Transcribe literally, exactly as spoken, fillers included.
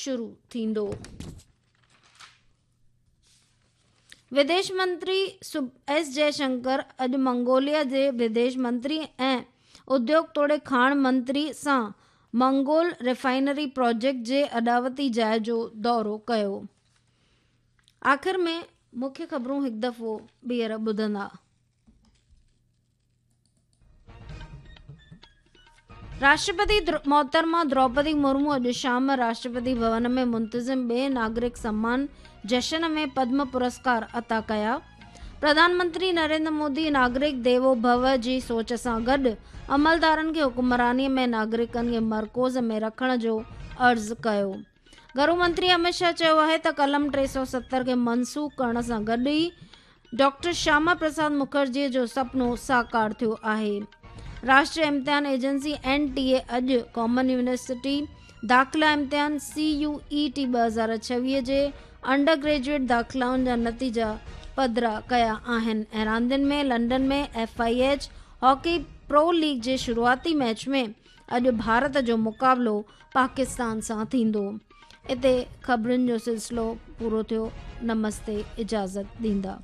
شروع ٿيندو. وديش منتري ايس جئشنڪر اڄ منگوليا جي وديش منتري ۽ اديوگ توڙي کاڻ منتري سان منگول ريفائنري پروجيڪٽ جي اڏاوتي جاءِ جو دورو ڪيو. آخر ۾ مکيه خبرون هڪ دفعو ٻيهر ٻڌندا. راشٽرپتي محترمه دروپدي مرمو اڄ شام راشٽرپتي ڀون ۾ منتظم ٻئي ناگرڪ سمان جشن ۾ پدم پرسڪار عطا ڪيا. پرڌان منتري نريندر مودي ناگرڪ ديوو ڀو جي سوچ سان گڏ عملدارن کي حڪمرانيءَ ۾ ناگرڪن کي مرڪوز ۾ رکڻ جو عرض ڪيو. گهرو منتري امت شاهه چيو آهي ته قلم ٽي سؤ ستر کي منسوخ ڪرڻ سان گڏ ئي ڊاڪٽر شياما پرساد مکرجي جو سپنو ساڪار ٿيو آهي. راشٽريه امتحان ايجنسي اين ٽي اي اڄ ڪامن يونيورسٽي داخلا امتحان سي يو اي ٽي ٻه هزار ڇويهه جي انڊر گريجوئيٽ داخلائن جا نتيجا پڌرا ڪيا آهن. ۽ راندين ۾ London ۾ F I H hockey pro league جي شروعاتي ميچ ۾ اڄ ڀارت جو مقابلو پاڪستان سان ٿيندو. اتي خبرن جو سلسلو پورو ٿيو. نمستي، اجازت ڏيندا.